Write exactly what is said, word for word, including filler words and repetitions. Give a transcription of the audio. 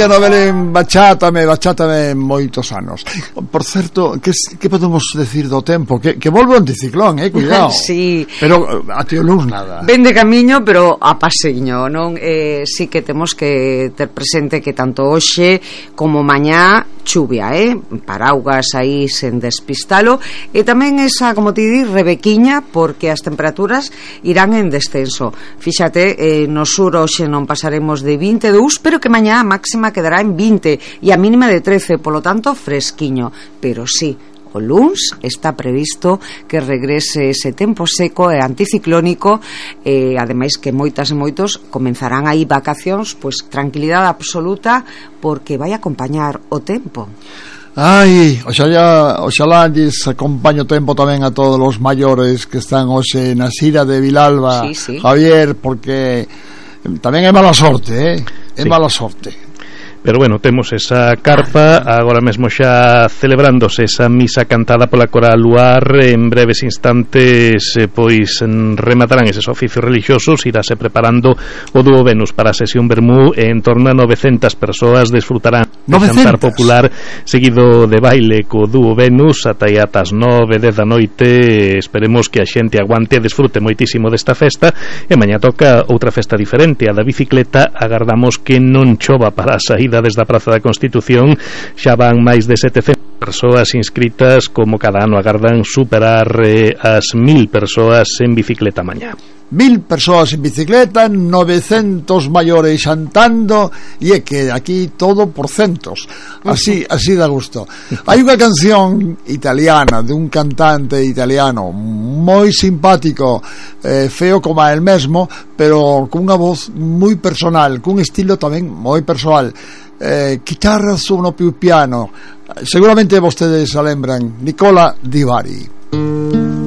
María Novelén, bachátame, bachátame moitos anos. Por certo, que, que podemos decir do tempo? Que, que volve o anticiclón, eh, cuidado. Sí. Pero a tío luz nada. Ven de camiño, pero a paseiño, non? Eh, sí que temos que ter presente que tanto hoxe como mañá chuvia, eh? Paraugas aí sen despistalo, e tamén esa, como te di, rebequiña, porque as temperaturas irán en descenso. Fíxate, eh, no sur hoxe non pasaremos de vinte e dous, pero que mañá a máxima quedará en vinte e a mínima de trece, polo tanto fresquiño, pero sí, o luns está previsto que regrese ese tempo seco e anticiclónico, e ademais que moitas e moitos comenzarán aí vacacións, pois tranquilidade absoluta, porque vai acompañar o tempo. Ai, oxalá, oxalá lles acompaño o tempo tamén a todos os maiores que están hoxe na Sira de Vilalba, sí, sí. Javier, porque tamén é mala sorte, eh? É sí. mala sorte. Pero bueno, temos esa carpa agora mesmo xa celebrándose esa misa cantada pola Coral Luar. En breves instantes eh, pois rematarán eses oficios religiosos. Irase preparando o dúo Venus para a sesión vermú, e en torno a novecentas persoas desfrutarán de xantar popular seguido de baile co dúo Venus ata aí ata as nove, dez da noite. Esperemos que a xente aguante e desfrute moitísimo desta festa, e mañá toca outra festa diferente, a da bicicleta. Agardamos que non chova para a saída desde a Praza da Constitución. Xa van máis de setecentas persoas inscritas, como cada ano agardan superar eh, as mil persoas en bicicleta mañá. Mil persoas en bicicleta, novecentos maiores xantando, e é que aquí todo por centos. Así, así da gusto. Hai unha canción italiana de un cantante italiano moi simpático, eh, feo como el mesmo, pero con unha voz moi personal, cun estilo tamén moi personal. Eh, chitarra suono più piano. Seguramente vostedes a lembran, Nicola Di Bari.